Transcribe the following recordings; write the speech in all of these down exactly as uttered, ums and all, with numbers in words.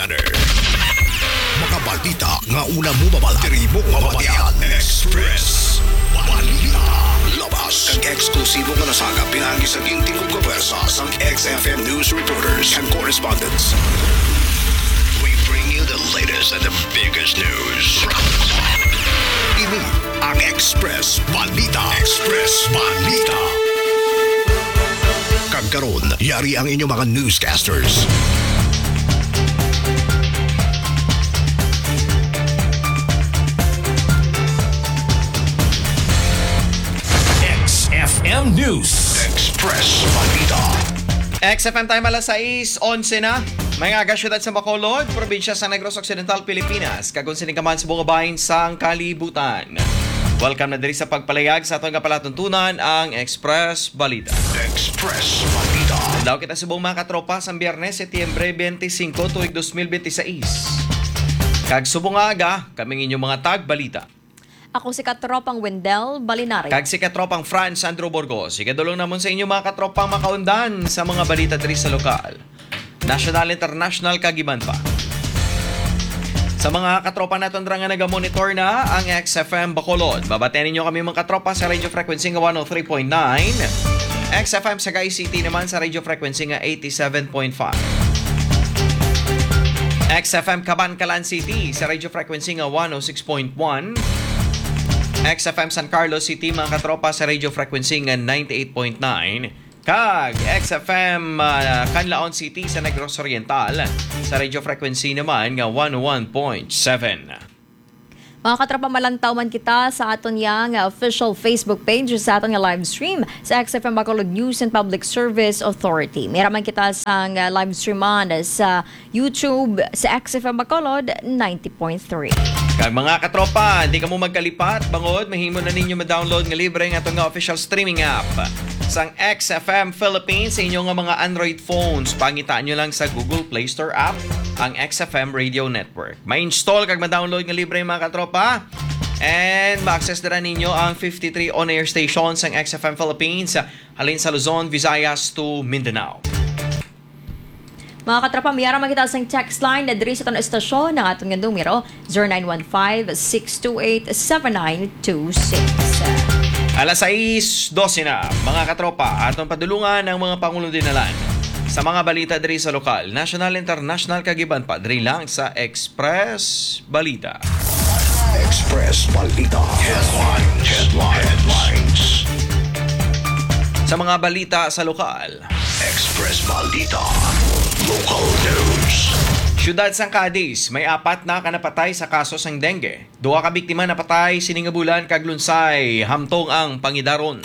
Mga balita nga una mo mabal-, diri mo mabatian. Express Balita. Labas kag eksklusibo nga nasagap pinagi sa ginting ug kapuwersa sang X F M news reporters and correspondents. We bring you the latest and the biggest news. Ini ang Express Balita. Express Balita. Kag karon, yari ang inyo mga newscasters. X F M News. Express Balita. X F M time, alas sais onse na. May nga aga, siyudad sa Bacolod, probinsya sa Negros Occidental, Pilipinas, kag kung sini ka man sa bungabahin sang kalibutan. Welcome na diri sa pagpalayag sa aton nga palatuntunan, ang Express Balita. Express Balita. Daw kita subong, mga katropa, sa Biyernes, Setyembre twenty-five, tuig dos mil binte y seis. Kag subong nga aga, kami ang inyong mga tagbalita. Ako si Katropang Wendell Balinario. Kag si Katropang Franz Andrew Burgos. Ikadulong namon sa inyo, mga katropang makaundan sa mga balita diri sa lokal, nasyonal, internasyonal, kag iban pa. Sa mga katropa naton dira nga nagamonitor na ang X F M Bacolod, mabatian ninyo kami, mga katropa, sa radio frequency nga one oh three point nine, X F M Sagay City naman sa radio frequency nga eighty-seven point five, X F M Kabankalan City sa radio frequency nga one oh six point one, X F M San Carlos City, mga katropa, sa radio frequency nga ninety-eight point nine, kag X F M, ah, Canlaon City sa Negros Oriental sa radio frequency naman nga one oh one point seven. Mga katropa, malantaw man kita sa aton yang, ah, official Facebook page sa aton nga live stream sa X F M Bacolod News and Public Service Authority. May ra man kita sang, ah, live stream man sa YouTube sa X F M Bacolod ninety point three. Kag mga katropa, di kamo magkalipat, bangod mahimo na ninyo ma-download nga libre nga aton nga official streaming app sang X F M Philippines sa inyo nga mga Android phones. Pangitaan nyo lang sa Google Play Store app ang X F M Radio Network. Ma-install kag ma-download nga libre, mga katropa. And ma-access dira ninyo ang fifty-three on-air stations sang X F M Philippines, halin sa Luzon, Visayas to Mindanao. Mga katropa, may ara man kita sang text line na diri sa aton estasyon, ang aton nga numero, zero nine one five, six two eight, seven nine two six. Alas sais dose na, mga katropa, aton padulungan ang mga pangulo-dinalan sa mga balita diri sa lokal, nasyonal, internasyonal, kag iban pa diri lang sa Express Balita. Express Balita. Headlines. Headlines. Headlines. Sa mga balita sa lokal, Express Balita. Local news. Siyudad sang Cadiz, may apat na ka napatay sa kaso sang dengue. Duha ka biktima napatay sini nga bulan kag lunsay hamtong ang pangidaron.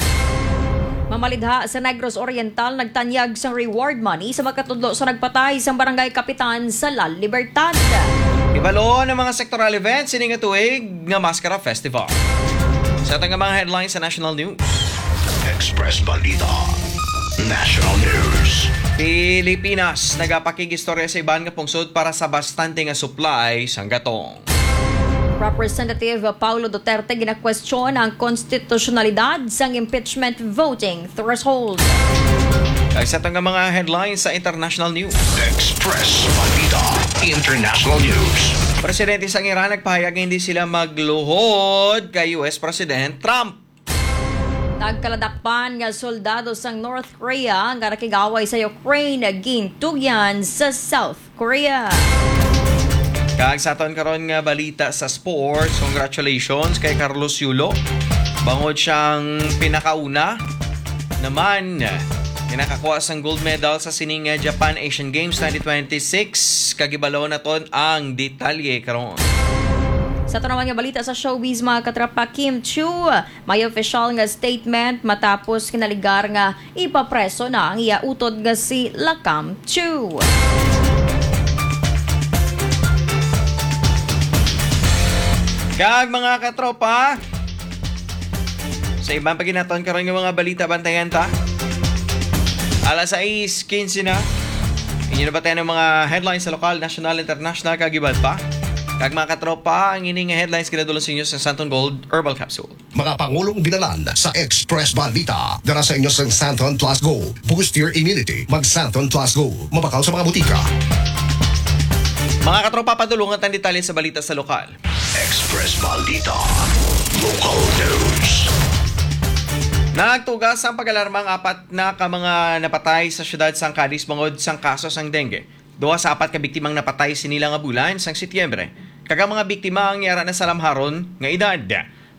Mamalidha sa Negros Oriental nagtanyag sang reward money sa makatudlo sa nagpatay sang barangay kapitan sa La Libertad. Ibalo ang mga sectoral events sini nga tuig nga Maskara Festival. Sa aton nga mga headlines sa national news. Express Balita. National News. Pilipinas nagapakig-istorya sa iban nga pungsod para sa bastante nga supply sang gatong. Representative Paulo Duterte ginakwestiyon ang konstitusyonalidad sang impeachment voting threshold. Kag sa aton nga mga headlines sa international news. Express Balita International News. Presidente sang Iran nagpahayag nga hindi sila magluhod kay U S President Trump. Nagkaladakpan nga soldado sang North Korea nga nakig-away sa Ukraine gintugyan sa South Korea. Kag sa aton karon nga balita sa sports, congratulations kay Carlos Yulo. Bangod siyang pinakauna naman nga nakakuha sang gold medal sa sining Japan Asian Games twenty twenty-six. Kag ibalo naton ang detalye karon. Sa aton naman nga balita sa showbiz, mga katropa, Kim Chiu may official nga statement matapos kinaligar nga ipapreso na ang iya utod nga si Lakam Chiu. Kag mga katropa, sa iban pa ginaton karon nga mga balita, bantayan ta. Alas sais quince na. Inyo na ba tayo ng mga headlines sa lokal, national, international, kag iban pa? Kag mga katropa, ang ining headlines ginadulong sa inyo sa Santon Gold Herbal Capsule. Mga pangulong binalan sa Express Balita. Dara sa inyo sang Santon Plus Go. Boost your immunity. Mag Santon Plus Go. Mabakal sa mga butika. Mga katropa, padulungan tang detalye sa balita sa lokal. Express Balita. Local News. Nagtugas ang pag-alarma ang apat na ka mga napatay sa siyudad sang Cadiz bangod sang kaso sang dengue. Duha sa apat ka biktimang napatay sini lang nga bulan sang Setyembre, kag ang mga biktima ang yara na sa lamharon nga edad.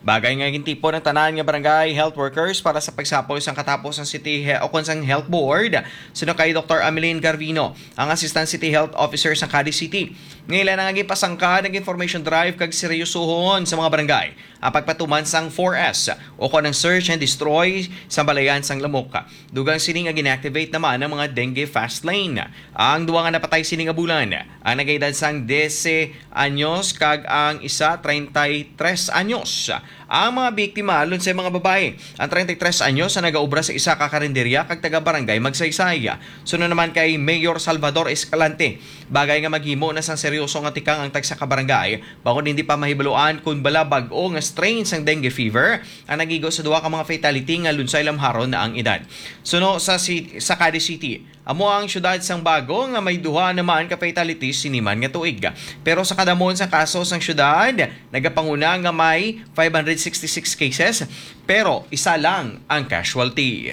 Bagay nga gintipon ang tanan nga barangay health workers para sa pagsapol sang katapos sang city he-, o kon sang health board, suno kay Doktor Amelin Garvino, ang Assistant City Health Officer sa Cadiz City. Nga ila na nga ginpasangka nag-information drive kag seryosohon sa mga barangay ang pagpatuman sang four S o kon ang search and destroy sa balayan sang lamok. Dugang sini nga gin-activate naman ang mga dengue fast lane. Ang duha nga napatay sini nga bulan, ang nagaedad sang dese anyos kag ang isa treinta y tres anyos. Ang mga biktima, lunsay mga babayi. Ang treinta y tres anyos ang nagaobra sa isa ka karinderya kag taga Barangay Magsaysay. Sunod naman kay Mayor Salvador Escalante, bagay nga maghimo na sang seryoso nga tikang ang tagsa ka barangay, bangod hindi pa mahibaluan kon bala bag-o nga strain sang dengue fever ang nagigo sa duha ka mga fatality nga lunsay lamharon na ang edad. Suno sa ci-, sa Cadiz City, amo ang siyudad sang bago nga may duha naman ka fatalities sini man nga tuig. Pero sa kadamon sa kaso sang siyudad, nagapanguna nga may five hundred sixty-six cases, pero isa lang ang casualty.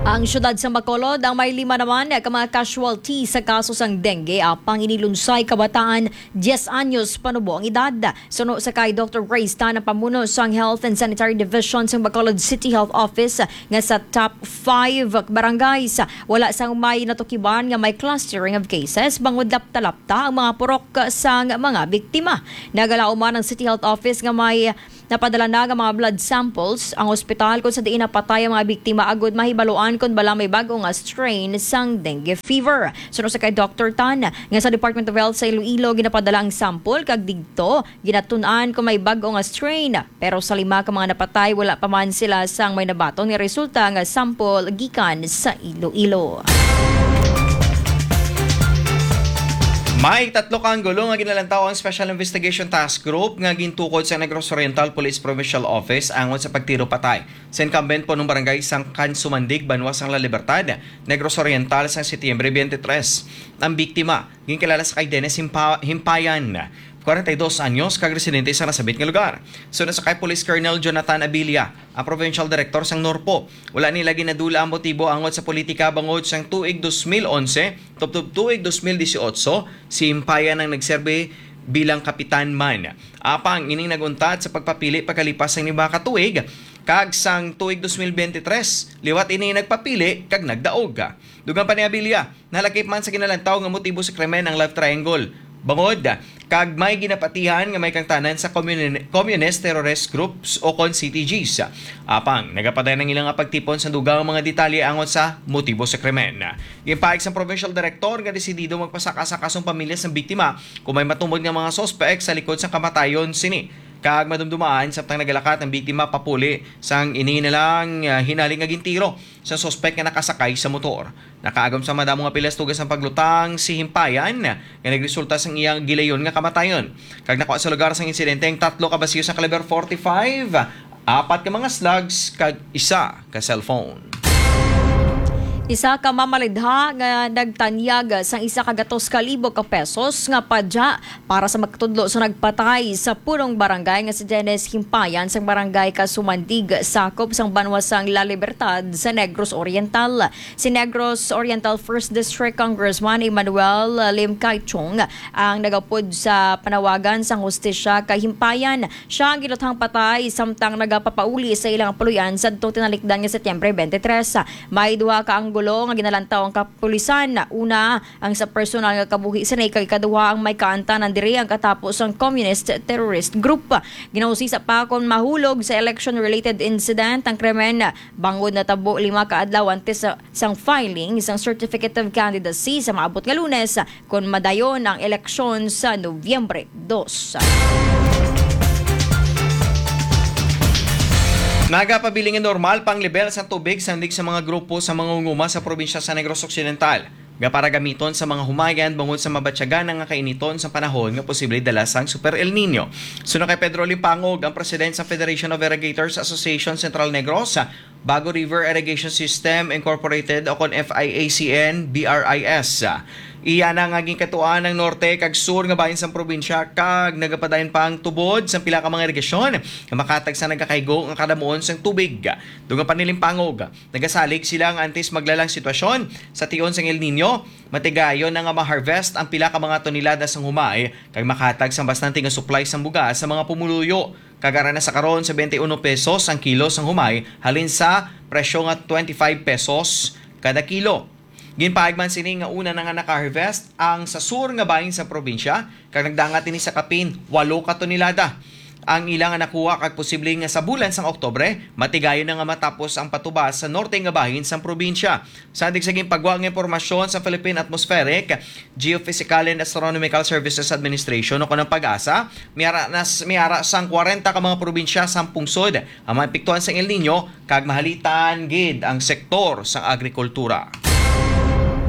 Ang siyudad sa Bacolod ang may lima naman ka mga casualty sa kaso sang dengue, apang ini lunsay kabataan, diyes anyos panubo ang edad. Suno sa kay Doktor Grace Tan, ang pamuno sang Health and Sanitary Division sang Bacolod City Health Office, nga sa top five barangays, wala sang may natukiban nga may clustering of cases, bangod lapta-lapta ang mga purok sang mga biktima. Nagalaom man ang City Health Office nga may napadala na nga mga blood samples ang ospital kung sa diin napatay ang mga biktima agud mahibaluan kon bala may bag-o nga strain sang dengue fever. Suno sa kay Doktor Tan, nga sa Department of Health sa Iloilo ginapadala ang sample kag digto ginatun-an kon may bag-o nga strain. Pero sa lima ka mga napatay, wala pa man sila sang may nabaton nga resulta nga sample gikan sa Iloilo. May tatlo ka anggulo nga ginalantaw ang Special Investigation Task Group nga gintukod sa Negros Oriental Police Provincial Office angot sa pagtiro patay sa incumbent punong barangay sang Kansumandig, banwa sang La Libertad, Negros Oriental, sang Setyembre twenty-three. Ang biktima ginkilala sa kay Dennis Himpa-, Himpayan, kwarenta y dos anyos, kag residente sa nasabit nga lugar. Suno sa kay Police Colonel Jonathan Abilia, ang provincial director sang NORPO, wala nila ginadula ang motibo angot sa politika bangod sang tuig dos mil onse tubtob tuig dos mil disiotso, si Himpayan ang nagserbi bilang kapitan man. Apang ining nag-untat sa pagpapili pagkalipas sang lima ka tuig, kag sang tuig dos mil bente tres, liwat ini nagpapili kag nagdaog. Dugang pa ni Abilia, nalakip man sa ginalantaw nga motibo sa krimen ang love triangle, bangod kag may ginapatihan nga may kangtanan sa commun-, communist terrorist groups o kon C T Gs. Apang nagapadayon ang ila nga pagtipon sa dugang mga detalye angot sa motibo sa krimen. Ginpaig sang provincial director nga desidido magpasaka sa kasong pamilya sang biktima kung may matumod nga mga suspek sa likod sang kamatayon sini, kag madumdumaan samtang nagalakat ang biktima papuli sang ini na lang, ah, hinali nga gintiro sa suspek nga nakasakay sa motor. Nakaagom sa madamo nga pilas tugas ang paglutang si Himpayan, nga nagresulta sang iyang gilayon nga kamatayon. Kag nakuha sa lugar sang insidente ang tatlo ka basiyo sa kaliber forty-five, apat ka mga slugs, kag isa ka cellphone. Isa ka mamalidha nga nagtanyag sang isa ka gatos ka libo ka pesos nga padya para sa magtudlo sa nagpatay sa punong barangay nga si Dennis Himpayan sang barangay Kasumandig, sakop sang banwa sang La Libertad sa Negros Oriental. Si Negros Oriental First District Congressman Emmanuel Lim Kai Chung ang nagapod sa panawagan sang hustisya kay Himpayan. Siya ang giluthang patay samtang nagapapauli sa ilang puloy-an sadto tinalikdan nga Setyembre twenty-three. May duha ka anggulo nga ginalantaw ang kapulisan. Una, ang sa personal nga kabuhi sini, kag ikaduha ang may kaantanan diri ang katapos sang communist terrorist group. Ginausisa pa kon mahulog sa election-related incident ang krimen, bangod natabo lima ka adlaw antes sa, sang filing sang certificate of candidacy sa maabot nga Lunes, kon madayon ang eleksyon sa Nobyembre dos. Nagapabiling nga normal pa ang lebel sa tubig sandig sa mga grupo sa mga unguma sa probinsya sa Negros Occidental nga para gamiton sa mga humayan bangod sa mabatyagan nga kainiton sa panahon nga posible dala sang Super El Nino. Suno kay Pedro Limpangog, ang president sa Federation of Irrigators Association Central Negros, Bago River Irrigation System Incorporated, o kon F I A C N B R I S. Iya na nga ginkatuan ang norte kag sur nga bahin sang probinsya, kag nagapadayon pa ang tubod sang pila ka mga irigasyon nga makatag sa nagakaigo nga kadamuon sang tubig. Dugang panilimpangog, nagasalig sila nga antes maglalang sitwasyon sa tion sang El Nino, matigayon na nga ma-harvest ang pila ka mga tonelada sang humay kag makatag sang bastante nga supply sang bugas sa mga pumuluyo. Kag ara na sa karon sa twenty-one pesos ang kilo sang humay, halin sa presyo nga twenty-five pesos kada kilo. Ginpaig man sini nga una na nga naka-harvest ang sa sur nga bahin sa probinsya, kag nagdangat ini sa kapin walo ka tonelada ang ila nga nakuha, kag posible nga sa bulan sang Oktubre matigayon na nga matapos ang patubas sa norte nga bahin sang probinsya. Sandig sa ginpagwa nga impormasyon sa Philippine Atmospheric, Geophysical and Astronomical Services Administration, o kon ang PAGASA, may ara, nas, may ara sang kwarenta ka mga probinsya sang pungsod ang maepektuhan sang El Nino kag mahalitan gid ang sektor sang agrikultura.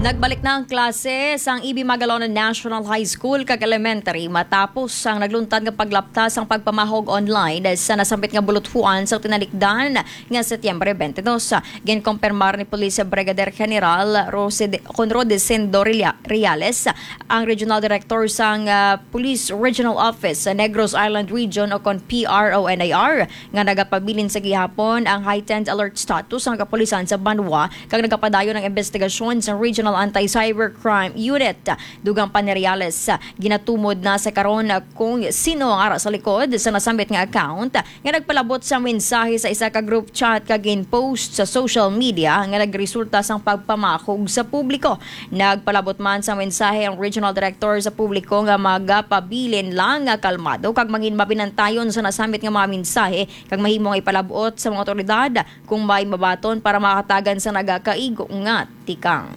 Nagbalik na ang klase sang E B Magalonan National High School kag Elementary matapos ang nagluntad nga paglapta sang pagpamahog online sa nasambit nga buluthuan sa tinalikdan nga Setyembre twenty-two. Ginkumpirmar ni Police Brigadier General Rosed-, Conrod Desendo Relia-, Reales, ang Regional Director sang, ah, Police Regional Office sa Negros Island Region, o kon P R O N I R, nga nagapabilin sa gihapon ang heightened alert status sang kapulisan sa banwa, kag nagapadayon ang investigasyon sa Regional Anti-Cybercrime Unit. Dugang pa ni Reales, ginatumod na sa karon kung sino ang ara sa likod sa nasambit nga account nga nagpalabot sa mensahe sa isa ka group chat kag gin-post sa social media nga nagresulta sang pagpamakog sa publiko. Nagpalabot man sa mensahe ang Regional Director sa publiko nga magapabilin lang nga kalmado kag mangin mabinantayon sa nasambit nga mga mensahe kag mahimo nga ipalabot sa mga otoridad kung may mabaton para makatagan sa nagakaigo nga tikang.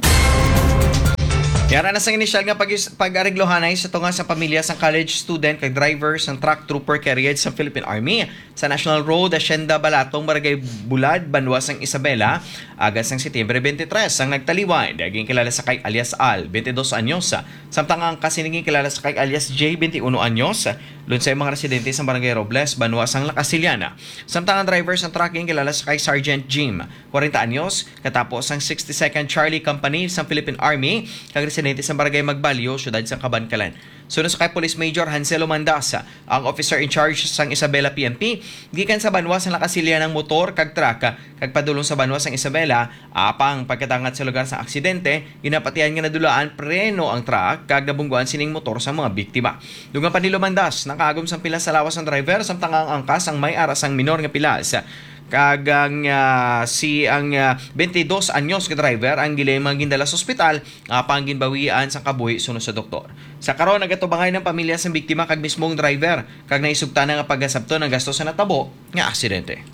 Yara na sang inisyal nga pag-, pag-areglohanay sa tunga sa pamilya sang college student kag driver sang truck trooper carried sa Philippine Army sa National Road, Hacienda Balatong, Barangay Bulad, banwa sang Isabela, aga sang Setyembre twenty-three ang nagtaliwan. Ginkilala sa kay alias Al, twenty-dos anyos, samtang ang kasinigin kilala sa kay alias J, twenty-uno anyos, lunsay mga residente sa Barangay Robles, banwa sang La Castellana. Samtang ang driver sang truck ginkilala sa kay Sergeant Jim, kwarenta anyos, katapo sang sixty-second Charlie Company sang Philippine Army, kag residente sa Barangay Magbalyo, siyudad sang Kabankalan. Suno sa kay Police Major Hanselo Mandas, ang officer in charge sang Isabela P N P, gikan sa banwa sang La Castellana ang motor kag truck, kag padulong sa banwa sang Isabela, apang pagkadangat sa lugar sang aksidente, ginapatihan nga nadulaan preno ang truck kag nabungguan sining motor sa mga biktima. Dugang pa ni Lumandas, nakaagom sang pilas sa lawas ang driver, samtang ang angkas ang may ara sang minor nga pilas. Kag ang, ah, si ang, ah, twenty-dos anyos nga driver ang gilay mga gindala sa ospital, apang ginbawian sang kabuhi suno sa doktor. Sa karon, nagatubangay ng pamilya sang biktima kag mismong driver, kag naisugtan na nga pagasabton ang gasto sa natabo nga aksidente.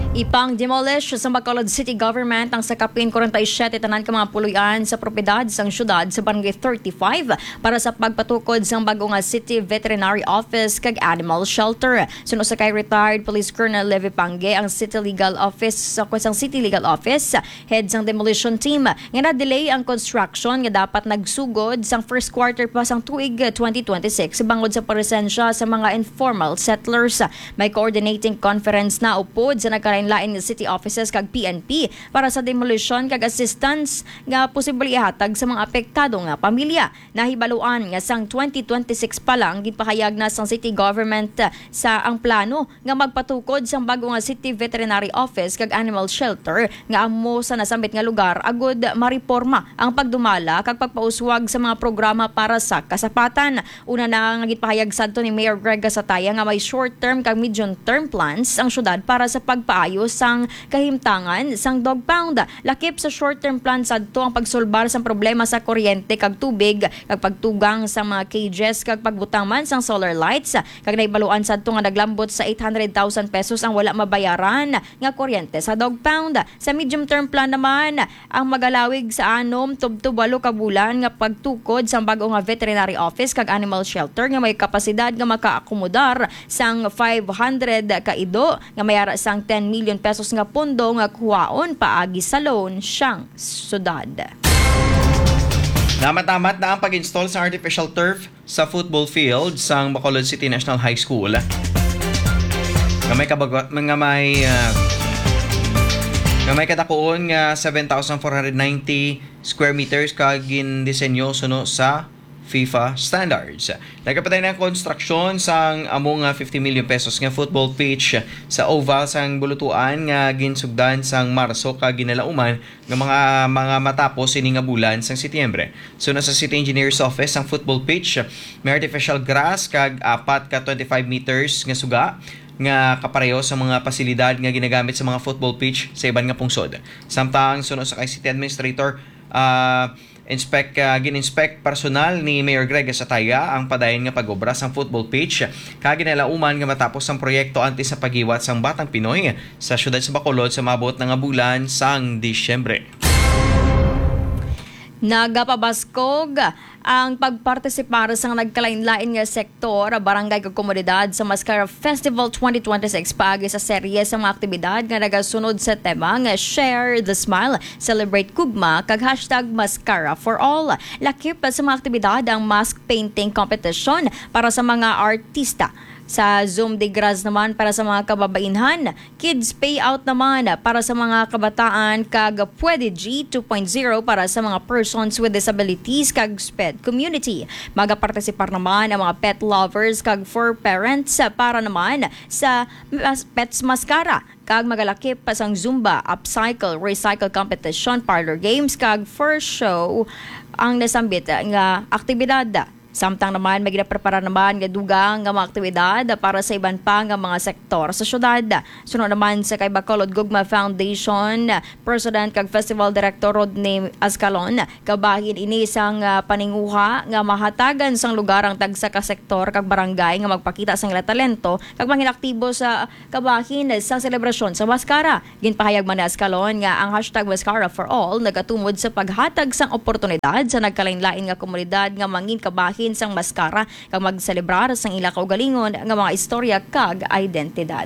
Ipang-demolish sa Bacolod City Government ang sakapin kwarenta y siyete tanan ka mga puloy-an sa propiedad sang syudad sa Barangay thirty-five para sa pagpatukod sang bag-o nga City Veterinary Office kag Animal Shelter. Suno sa kay retired Police Colonel Levi Pangue, ang City Legal Office, sa sang City Legal Office, head sang demolition team, nga na-delay ang construction nga dapat nagsugod sang first quarter pa sang tuig twenty twenty-six bangod sa presensya sa mga informal settlers. May coordinating conference na upod sa nagkalain-lain nga city offices kag P N P para sa demolition kag assistance nga posible ihatag sa mga apektado nga pamilya. Nahibaluan nga sang twenty twenty-six pa lang, ginpahayag na sang city government sa ang plano nga magpatukod sang bag-o nga City Veterinary Office kag Animal Shelter nga amo sa nasambit nga lugar agud mareporma ang pagdumala kag pagpauswag sa mga programa para sa kasapatan. Una na nga ginpahayag sadto ni Mayor Greg Gasataya nga may short-term kag medium-term plans ang syudad para sa pagpaayo sang kahimtangan sang dog pound. Lakip sa short-term plan sadto ang pagsulbar sang problema sa kuryente kag tubig, kag pagtugang sa mga cages, kag pagbutang man sang solar lights, kag nahibaluan sadto nga naglambot sa eight hundred thousand pesos ang wala mabayaran nga kuryente sa dog pound. Sa medium term plan naman, ang magalawig sa anom tubtob walo ka bulan nga pagtukod sang bag-o nga veterinary office kag animal shelter nga may kapasidad nga makaakomodar sang five hundred ka ido nga may ara sang ten million pesos nga pondo nga kuhaon paagi sa loan sang syudad. Namat-amat na ang pag-install sa artificial turf sa football field sang Bacolod City National High School, nga may kabag-, nga may, ah, nga may kadakuon nga seven thousand four hundred ninety square meters kag gindisenyo suno sa FIFA standards. Nagapatay na ang konstruksyon sang amo nga fifty million pesos nga football pitch sa oval sang Bulutuan nga ginsugdan sang Marso kag ginalauman nga mga, mga matapos ini nga bulan sang Setyembre. Suno sa City Engineer's Office, ang football pitch may artificial grass kag apat ka twenty-five meters nga suga nga kapareho sa mga pasilidad nga ginagamit sa mga football pitch sa iban nga pungsod. Samtang suno sa kay City Administrator, ah, inspect, ah, gin-inspect personal ni Mayor Greg Sataya ang padayon nga pag-obra sang football pitch, kag ginalauman nga matapos ang proyekto antes sa paghiwat sang Batang Pinoy sa siyudad sa Bacolod sa maabot na nga bulan sang Disyembre. Nagapabaskog ang pagpartisipar sa nagkalain-lain nga sektor, barangay kag komunidad sa Mascara Festival twenty twenty-six paagi sa serye sa mga aktibidad nga nagasunod sa tema nga Share the Smile, Celebrate Gugma kag hashtag Mascara for All. Lakip sa mga aktibidad ang mask painting competition para sa mga artista, sa Zoom de Gras naman para sa mga kababainhan, kids payout naman para sa mga kabataan, kag Pwede G two point zero para sa mga persons with disabilities kag SPED community. Magapartisipar naman ang mga pet lovers kag fur parents para naman sa mas-, Pets Mascara, kag magalakip pa sang Zumba, Upcycle, Recycle Competition, Parlor Games, kag Fur Show ang nasambit nga aktibidad. Samtang naman, may ginaprepara naman nga dugang nga mga aktibidad para sa iban pa nga mga sektor sa syudad. Suno naman sa kay Bacolod Gugma Foundation President kag Festival Director Rodney Ascalon, kabahin ini sang, ah, paninguha nga mahatagan sang lugar ang tagsa ka sektor kag barangay nga magpakita sang ila talento kag mangin aktibo sa kabahin sang selebrasyon sa Mascara. Ginpahayag man ni Ascalon nga ang hashtag Mascara for All nagatumod sa paghatag sang oportunidad sa nagkalain-lain nga komunidad nga mangin kabahin sang Mascara kag magselebrar sang ila kaugalingon nga mga istorya kag identidad.